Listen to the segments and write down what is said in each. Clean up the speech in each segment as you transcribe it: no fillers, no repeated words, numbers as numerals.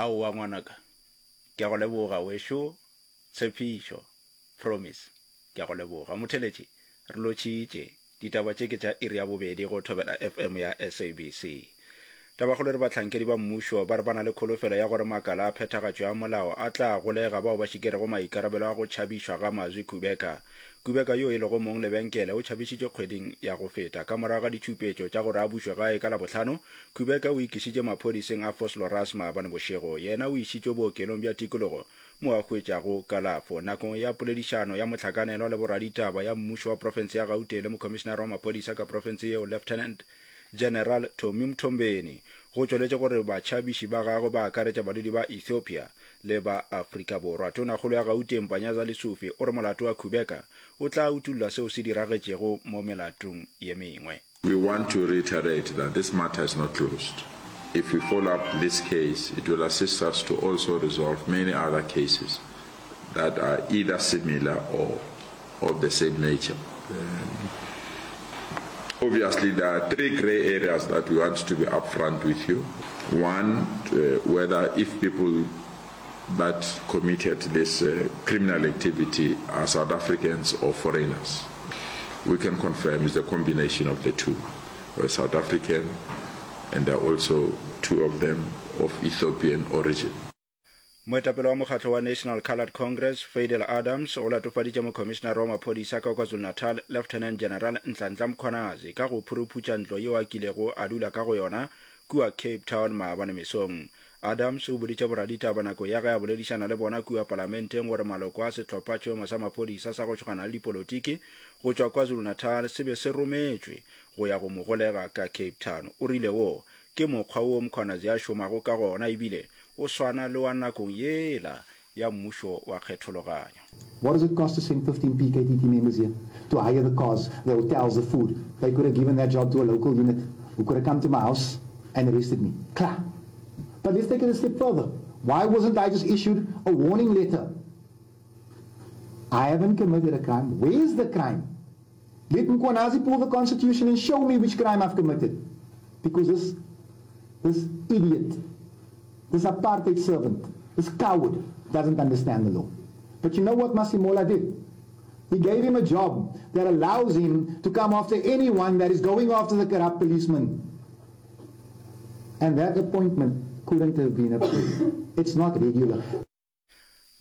Aowa ngwanaka, ke a go leboga wešo Tshepišo, Promise, ke a go leboga. Motheletši, re lotšhitše. Ditaba tše ke tša iri ya bobedi go Thobela FM ya SABC. Tabakgolo e re bahlankedi ba mmušo ba re ba na le kholofelo ya gore makala a phethagatšo ya molao a tla golega bao ba šikerego maikarabelo a go tšhabišwa ga Mazwi Kubeka. Kubeka yo e lego mong lebenkele o tšhabišitšwe kgweding ya go feta. Ka morago ga ditšhupetšo tša gore a bušwe gae ka Labohlano, Kubeka o ikišitše maphodiseng a Vosloorus maabane bošego. Yena o išitšwe bookelong bja tikologo mo a hwetšago kalafo. Nakong ya poledišano ya mohlakanelwa le boraditaba ya mmušo wa profense ya Gauteng le mokhomišenare wa maphodisa ka profense yeo Lieutenant General Tommy Mthombeni, go tšweletše gore batšhabiši ba gagwe ba akaretša badudi ba Ethiopia le ba Afrika Borwa. Tonakgolo ya Gauteng Panyaza Lesufi o re molato wa Kubeka o tla utolla seo se diragetšego mo melatong ye mengwe. We want to reiterate that this matter is not closed. If we follow up this case, it will assist us to also resolve many other cases that are either similar or of the same nature. Um, obviously, there are three gray areas that we want to be upfront with you. One, uh, whether if people that committed this uh, criminal activity are South Africans or foreigners. We can confirm it's a combination of the two. We're South African and there are also two of them of Ethiopian origin. Moetapele wa mokgatlo wa National Coloured Congress, Fadel Adams, o latofaditše mokhomišenare wa maphodisa ka KwaZulu-Natal, Lieutenant General Nhlanhla Mkhwanazi, ka go phuruphutša ntlo yeo a kilego a dula ka go yona kua Cape Town maabane mesong. Adams o boditše boraditaba nako ya ge a boledišana le bona kua palamenteng gore maloko a sehlophatšhomo sa maphodisa sa go šogana le dipolotiki go tšwa KwaZulu-Natal se be se rometšwe go ya go mo golega ka Cape Town. O rile wo ke mokgwa wo Mkhwanazi a šomago ka gona ebile o swana le wa nakong yela ya mmušo wa kgethologanyo. What does it cost to send 15 PKTT members here to hire the cars, the hotels, the food? They could have given that job to a local unit who could have come to my house and arrested me. Klaar. But let's take it a step further. Why wasn't I just issued a warning letter? I haven't committed a crime. Where's the crime? Let Mkwanazi pull the constitution and show me which crime I've committed. Because this, this idiot, this apartheid servant, this coward doesn't understand the law. But you know what Masimola did? He gave him a job that allows him to come after anyone that is going after the corrupt policeman. And that appointment couldn't have been approved. It's not regular.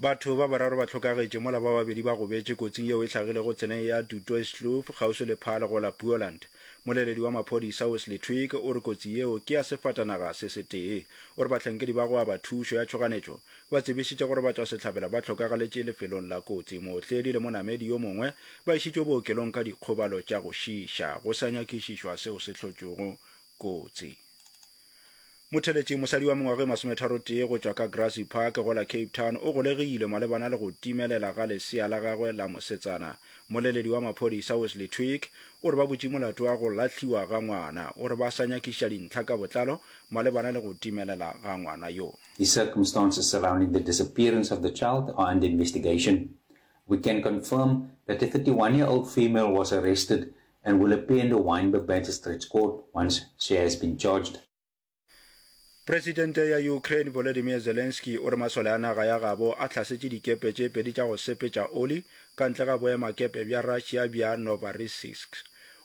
Batho ba bararo ba hlokagetše mola ba babedi ba gobetše kotsing yeo e hlagilego tseleng ya Du Toitskloof kgauswi le Paarl go la Boland. Moleledi wa maphodisa Wesley Twigg o re kotsi yeo ke ya sefatanaga se setee. O re bahlankedi ba go aba thušo ya tšhoganetšo ba tsebišitše gore batšwasehlabela ba hlokagaletše lefelong la kotsi. Mootledi le monamedi yo mongwe ba išitšwe bookelong ka dikgobalo tša go šiiša go sa nyakišišwa seo se hlotšego kotsi. Motheletši, mosadi wa mengwaga e masometharotee go tšwa ka Grassy Park go la Cape Town o golegilwe malebana le go timelela ga lesea la gagwe la mosetsana. Moleledi wa maphodisa Wesley Twigg o re ba butše molato wa go lahliwa ga ngwana. O re ba sa nyakišiša dintlha ka botlalo malebana le go timelela ga ngwana yo. The circumstances surrounding the disappearance of the child are under investigation. We can confirm that a 31-year-old female was arrested and will appear in the Wynberg Magistrates Court once she has been charged. Presidente ya Ukraine Volodymyr Zelensky o re masole a naga ya gabo a hlasetše dikepe tše pedi tša go sepetša oli ka ntle ga boemakepe bja Russia bja Novorossiysk.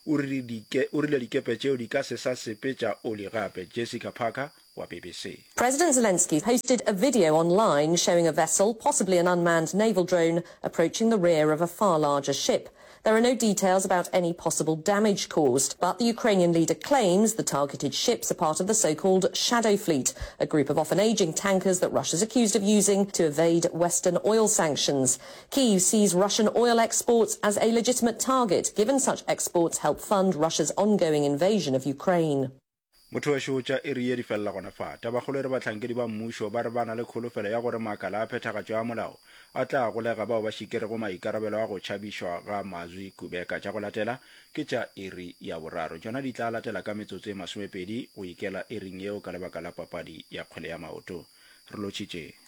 O rile dikepe tšeo di ka se sa sepetša oli gape. Jessica Parker wa BBC. President Zelensky posted a video online showing a vessel, possibly an unmanned naval drone, approaching the rear of a far larger ship. There are no details about any possible damage caused, but the Ukrainian leader claims the targeted ships are part of the so-called Shadow Fleet, a group of often aging tankers that Russia's accused of using to evade Western oil sanctions. Kyiv sees Russian oil exports as a legitimate target, given such exports help fund Russia's ongoing invasion of Ukraine. Motho wešo tša iri ye di felela gona fa. Tabakgolo e re bahlankedi ba mmušo ba re ba na le kholofelo ya gore makala a phethagatšo ya molao a tla golega bao ba šikerego maikarabelo a go tšhabišwa ga Mazwi Kubeka. Tša go latela ke tša iri ya boraro. Tšona di tla latela ka metsotso e masomepedi go ikela iring yeo ka lebaka la papadi ya kgwele ya maoto. Re lotšhitše.